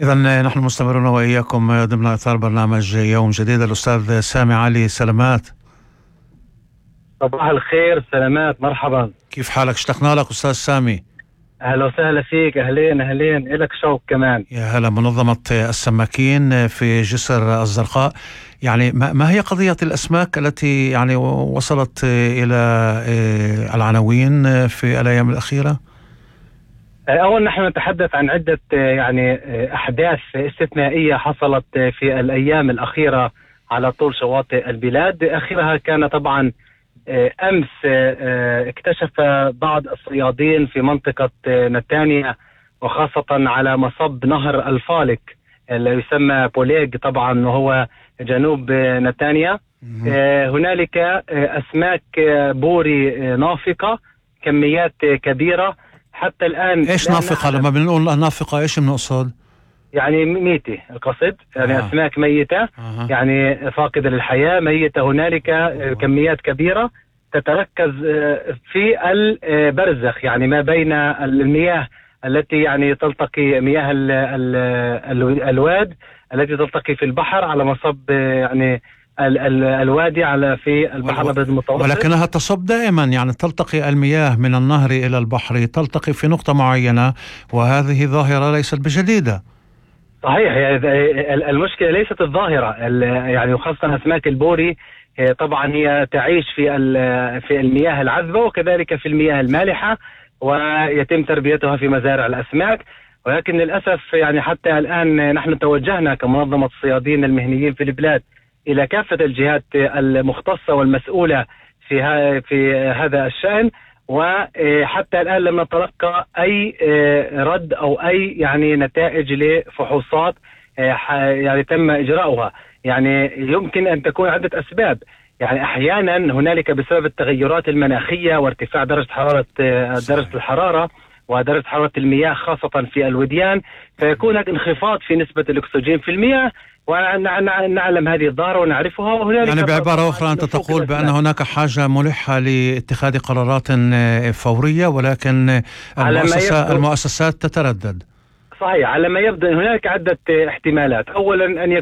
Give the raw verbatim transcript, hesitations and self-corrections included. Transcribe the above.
إذن نحن مستمرون وإياكم ضمن إطار برنامج يوم جديد. الأستاذ سامي علي، سلامات. صباح الخير، سلامات، مرحبا. كيف حالك؟ اشتقنا لك أستاذ سامي. أهلا وسهلا فيك، أهلين أهلين، إلك شوق كمان. يا هلا. منظمة السماكين في جسر الزرقاء، يعني ما هي قضية الأسماك التي يعني وصلت إلى العناوين في الأيام الأخيرة؟ أولا نحن نتحدث عن عدة يعني أحداث استثنائية حصلت في الأيام الأخيرة على طول شواطئ البلاد. آخرها كان طبعا أمس اكتشف بعض الصيادين في منطقة نتانيا وخاصة على مصب نهر الفالك اللي يسمى بوليغ طبعا وهو جنوب نتانيا. هنالك أسماك بوري نافقة، كميات كبيرة حتى الآن. إيش نافقة؟ لما بنقول نافقة إيش بنقصد؟ يعني ميتة القصد، يعني آه. أسماك ميتة آه. يعني فاقدة للحياة، ميتة. هنالك آه. كميات كبيرة تتركز في البرزخ، يعني ما بين المياه التي يعني تلتقي، مياه ال ال ال الواد التي تلتقي في البحر على مصب يعني ال ال الوادي على في البحر الأبيض المتوسط، ولكنها تصب دائما، يعني تلتقي المياه من النهر إلى البحر، تلتقي في نقطة معينة، وهذه ظاهرة ليست بجديدة. صحيح، يعني المشكلة ليست الظاهرة، يعني خاصة أسماك البوري طبعا هي تعيش في في المياه العذبة وكذلك في المياه المالحة، ويتم تربيتها في مزارع الأسماك. ولكن للأسف يعني حتى الآن نحن توجهنا كمنظمة الصيادين المهنيين في البلاد إلى كافة الجهات المختصة والمسؤولة في في هذا الشأن، وحتى الآن لم نتلقى أي رد أو أي يعني نتائج لفحوصات يعني تم إجراؤها. يعني يمكن أن تكون عدة أسباب، يعني أحيانا هنالك بسبب التغيرات المناخية وارتفاع درجة حرارة درجة الحرارة ودرجة حرارة المياه خاصة في الوديان، فيكون هناك انخفاض في نسبة الأكسجين في المياه، ونعلم هذه الظاهرة ونعرفها. وهنالك يعني بعبارة أخرى أنت تقول بأن هناك حاجة ملحة لاتخاذ قرارات فورية، ولكن المؤسسة المؤسسات تتردد. صحيح، على ما يبدو هناك عدة احتمالات. أولا أن